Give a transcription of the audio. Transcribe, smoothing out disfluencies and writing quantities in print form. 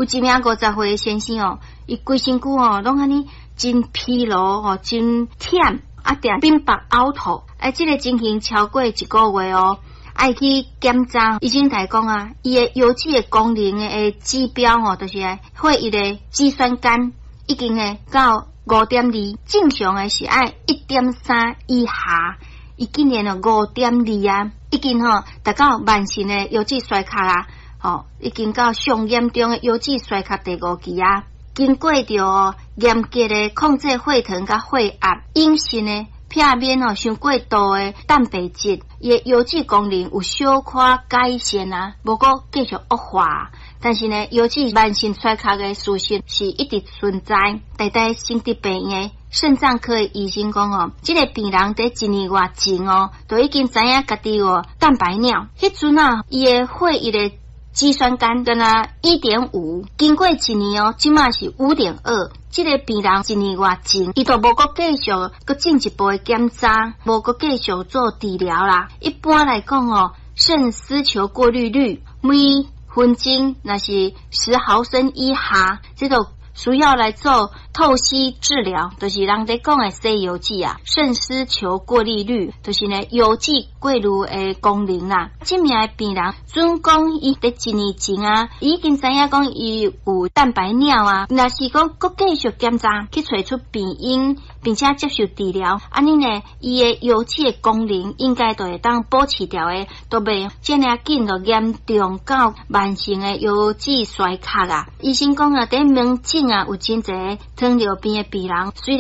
有一名50歲的先生哦，伊規身軀哦，攏按呢真疲勞吼，真忝，啊，定便腹嘔吐，哎，這个情形超過一個月哦，愛去檢查，醫生共伊講啊，伊的腰子的功能的指標吼，就是血液的肌酸酐已經會到5.2，正常的是愛1.3以下，伊竟然哦五點二啊，已經吼達到慢性的腰子衰竭啊，吼，已經到上嚴重的腰子衰竭第五期啊。經過著嚴格的控制血糖佮血壓，飲食呢，避免吼傷過度的蛋白質，伊的腰子功能有小可改善啊，無閣繼續惡化。但是呢，腰子慢性衰竭的事實是一直存在。台大省立病院的腎臟科的醫生講哦，這个病人佇一年外前哦，就已經知影家己有蛋白尿。彼陣啊，伊的血液的肌酸酐敢若1.5，經過一年哦，這馬是5.2。這个病人一年外前，伊就無閣繼續閣進一步的檢查，無閣繼續做治療啦。一般來講哦，腎絲球過濾率每分鐘若是10毫升以下，這就需要來做透析治療，就是人咧講的洗腰子啊。腎絲球過濾率，就是呢腰子過濾的功能啦。這名的病人準講伊佇一年前啊，已經知影講伊有蛋白尿啊，若是講閣繼續檢查去揣出病因，並且接受治療，按呢呢，伊的腰子的功能應該就會當保持牢的，都袂遮爾緊就嚴重到慢性的腰子衰竭啊。醫生講啊，佇門診啊有真濟糖尿病的病人，雖然